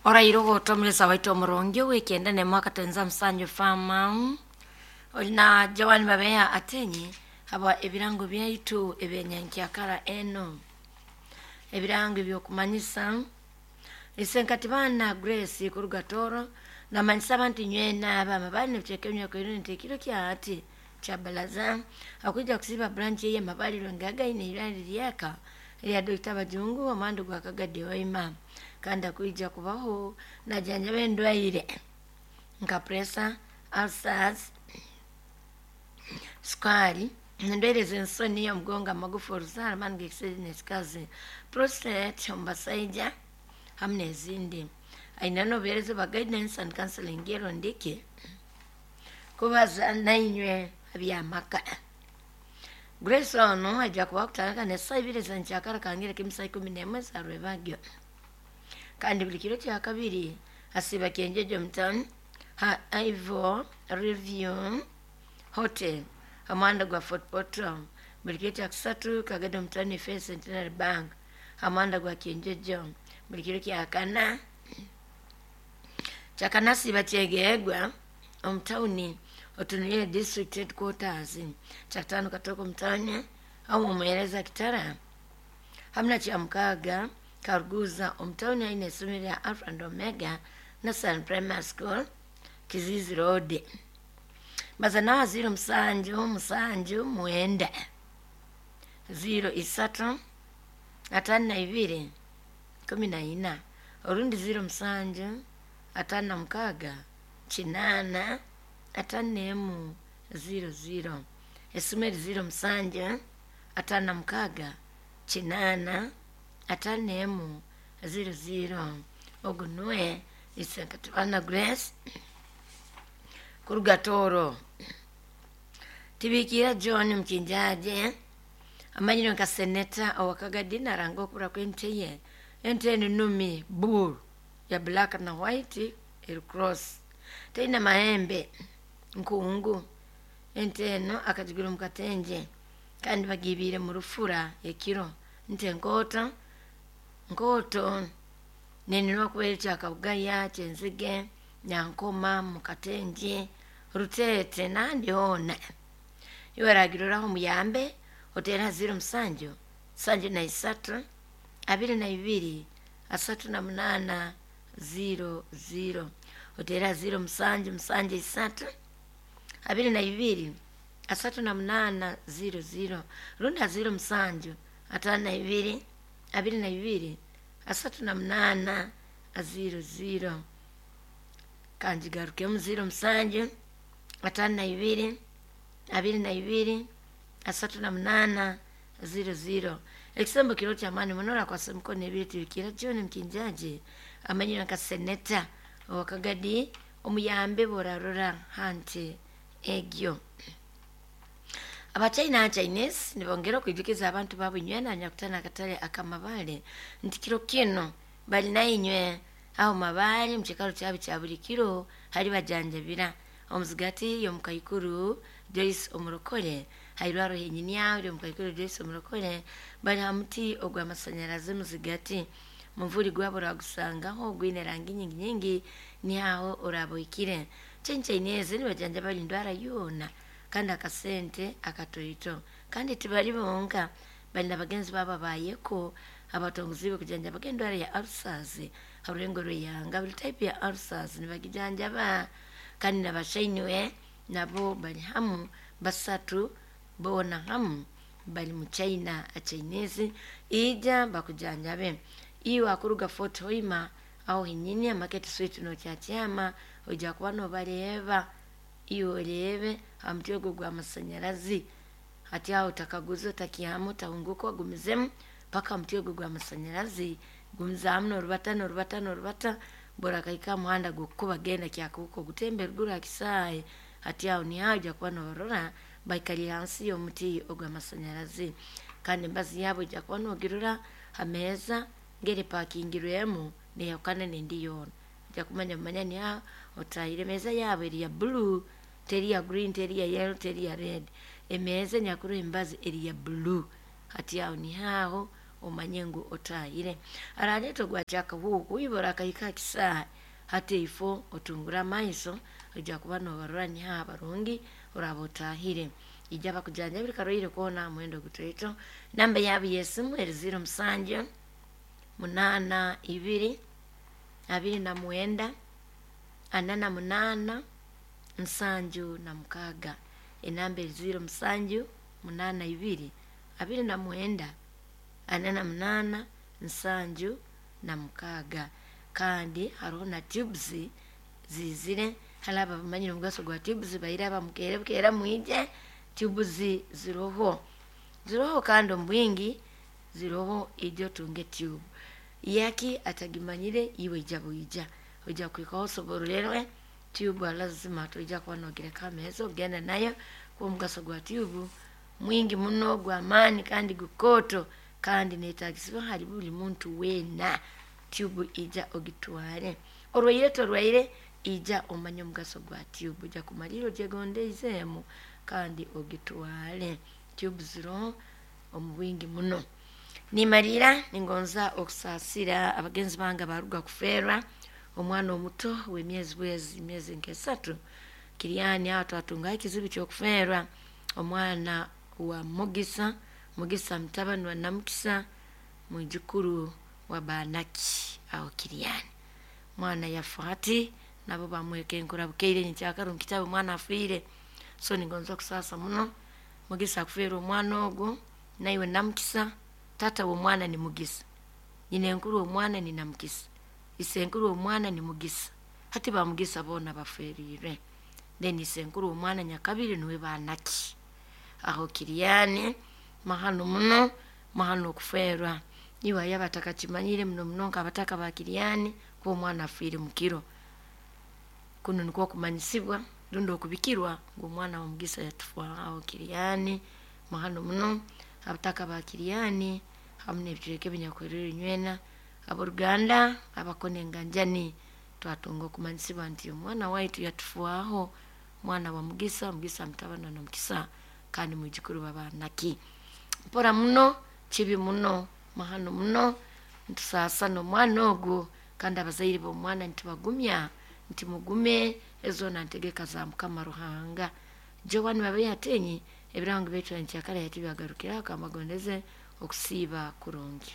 Oraire ogotomulesa waitu omurungi owikende ne mwaka twenza musanju fama olina Joan Babeya atenyi aba ebirango byaitu ebyenyankyakara eno ebirango ebyokumanyisa isenkati bana Grace kuruga Toro namanyisa abantu nywena abama bali nebicheka emyaka ino nti ekiro kyati kya balaza akwija kusiba branch ye mabaliro ngagaine irali lyaka lya Dr. Bajungu omwandu gwa Kagadi Waima kandi akwija kubaho najanjaba endwaire nka pressure, ulcers, sukari, endwaire z'ensoni, omugongo, amagufa, oruzaaro, amaani g'ekisajja n'ekikazi, prostate omu basaija hamu n'ezindi. Aine n'obuheereza bwa guidance and counseling erondiki kubaza nainywe habyamaka. Grace ono aija kuba kutandika n'esaaha ibiri ez'enkyakara kangire k'emisaha 11 za rwebagyo. Kandi buli kiro kya kabiri asiiba Kyenjejo omu town ha Ivo Review Hotel ha muhanda gwa Fort Portal. Buli kiro kya kusatu kagenda omu town Faith Centenary Bank ha muhanda gwa Kyenjejo. Buli kiro kya kana asiiba Kyegegwa omu tawuni otunuire district headquarters. Kyakutaano Katooke omu tawuni aho omuheereza Kitara. Hamu na kyamukaaga Karuguza omu tawuni aine isomero lya Alpha and Omega National Primary School Kizizi Road. Baza nawa 0 7 7 9 0 3 52 14 orundi 0 7 56 8 51 00 esumeri 0 7 56 8 51 00 ogu nuwe isenkatibana Grace kuruga Toro. Tibikira John Mkinjaje amanyire nka seneta owakagadi naranga okubura kw'ente ye. Ente enu numi bull ya black na white eri cross teine mahembe nkungu. Ente eno akagigura omu katenje kandi bagibiire mu rufura ekiro. Nte nkooto nkooto nenirwa kuba eri kyakabugaya kyenzige nyankoma mu katenje rutete nandi hoona. Iwe aragiroraho muyambe otera 0 7 73 22 38 00 otera 0 7 7 3 22 38 00 runda 0 7 52 22 38 00 kanjigarukemu 0 7 52 22 38 00. Ekisembo kiro kyamaani muno akwasa emikono ebiri tibikira John Mkinjaje amanyire nka seneta owakagadi omuyambe borarora hante egyo. Abachina Chinese nibongera okwijukiza abantu baabo nywena nyakutana akatale akamabale nti kiro kino bali nainywe aho mabale mukikaro kyabo kya buli kiro hali bajanjabira omuzigati y'omukaikuru Joyce Omurokole hairwaro henyini aho y'omukaikuru Joyce Omurokole bali ha muti ogw'amasanyarazi muzigati muvuri gwabo oragusangaho gwine rangi nyingi nyingi nihaho oraboikire. Chinese nibajanjaba endwara yoona kandi akasente akatoito kandi tibali bonka bali na bagenzi babo bayeko abatonguzi kujanjaba endwara ya ulcers harurengo rweyanga buli type ya ulcers nibagijanjaba kandi nabashainiwe nabo bali hamu basatu bona hamu bali mu China a Chinese ija bakujanjabe. Iwe akuruga Fort Hoima aho hinyini market street no kyakyama ojja kuba nobareba iwe orebe ha muti ogwo gw'amasanyarazi hati aho otakaguza otakihama otahunguka ogumizemu paka muti ogwo gw'amasanyarazi gumizaamu norubata norubata norubata borakaika aha muhanda gw'okukuba genda kyakubuka ogutembe ruguru aha kisaayi hati aho niho ojja kuba nobarora baikariire hansi y'omuti ogw'amasanyarazi kandi embazi yaabo ojja kuba nogirora ha meeza ngeri epakingirwemu neyahukana n'endi yoona. Ojja kumanya manya niho otahire emeeza yaabo eri ya blue teri ya green teri ya yellow teri ya red. Emeeza enyakuroho embazi eri ya blue hati aho niho aho omanye ngu otahire. Araleeta ogwakyakahuuku ibora akahika kisaahe hati ifo otungura amaiso ojja kuba nobarora niha abarungi oraba otahire. Ija bakujanjabire karwaire koona muhendo gutaito. Namba yaabo y'esimu eri 07 8 2 29 48 76. Enamba eri 07 82 29 48 76. Kandi hariho na tubes zizire, hali abo abamanyire omugaso gwa tubes baire abamukere bukeera mwije, tubes ziroho. Ziroho kandi omu bwingi ziroho ija otunge tube. Yaki atagimanyire iwe ija bwija. Ojja kuhikaho osobororerwe tube lazima toija kuba nogireka ameeza ogenda nayo kuba omugaso gwa tube mwingi muno gw'amaani kandi gukooto kandi neetagisibwa hali buli muntu weena. Tube ija ogitware. Orwaire torwaire ija omanye omugaso gwa tube. Ojja kumalirra ogyegondeizeemu kandi ogitware. Tube ziroho omu bwingi muno. Nimalira ningonza okusaasira abagenzi bange abaruga kufeerwa omwana omuto w'emyezi bwezi myezi nk'esatu Kiriani aho twatungaho ekizibu ky'okufeerwa omwana wa Mugisa, Mugisa mutabani wa Namukisa mwijukuru wa Banaki aho Kiriani. Mwana yafa hati nabo bamwekenkura bukeire nyenkyakara omu kitabu omwana afiire. So ningonza okusaasa muno Mugisa akufeerwa omwana ogwo naiwe Namukisa, taata w'omwana ni Mugisa, nyinenkuru w'omwana ni Namukisa, isenkuru w'omwana ni Mugisa. Hati ba Mugisa boona baferiirwe. Then isenkuru w'omwana nyakabiri nuwe Banaki. Aho Kiriani mahano muno, mahano okufeerwa. Iwe ayaba atakakimanyire muno muno nk'abataka ba Kiriani kuba omwana afiire mukiro. Kunu nikwo okumanyisibwa rundi okubikirwa ngu omwana wa Mugisa yatufaaho aho Kiriani mahano muno. Abataka ba Kiriani hamu n'ebicweka ebinyakuheriire nywena, ab'oruganda abakona enganjani twatunga okumanyisibwa nti omwana waitu yatufaaho, mwana wa Mugisa, Mugisa mutabani wa Namukisa kandi mwijukuru wa Banaki. Mpora muno, kibi muno, mahano muno, nitusaasa n'omwana ogwo kandi abazaire b'omwana nitubagumya nti mugume ezo ntegeka za Mukama Ruhanga. Joan babe yatenyi ebirango baitu nkyakara yati byagarukira akambagondeze okusiiba kurungi.